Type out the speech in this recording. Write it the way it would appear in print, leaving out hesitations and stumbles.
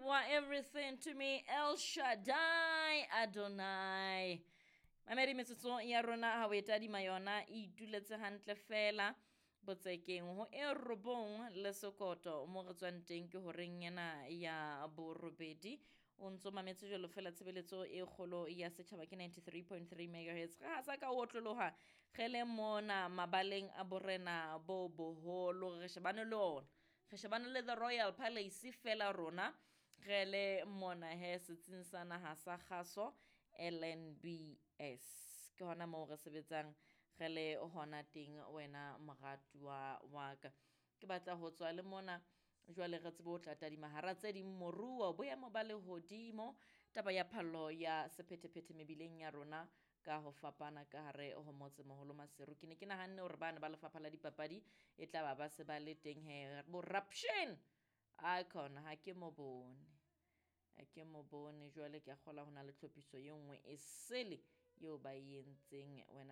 You are everything to me, El Shaddai Adonai. Mamedi, metsotso ya rona ha o e tadima yona e ituletse hantle fela botsekeng ho e 9 le sekoto mo re tswang teng ke horeng ena ya borobedi. O ntso mametse jwalo fela tshebeletso e kgolo ya setjhaba ke 93.3 megahertz. Re hasa ka ho otloloha re le mona mabaleng a borena bo boholo, re shebane le ona, re shebane le the Royal Palace fela rona re le mona he setsing sa naha sa kgaso LNBS. Ke hona moo re sebetsang re le hona teng wena moratuwa wa ka. Ke batla ho tswa le mona jwale re tsebe ho tla tadima hara tse ding moruo, boemo ba lehodimo, taba ya phallo ya sephethephethe mebileng ya rona ka ho fapana ka hare ho motsemoholo Maseru. Ke ne ke nahanne hore bana ba lefapha la dipapadi e tla ba ba se ba le teng he boraption icon ha ke mo bone, ha ke mo bone. Jwale ke a kgolwa ho na le tlhophiso e nngwe e sele eo ba e entseng wena.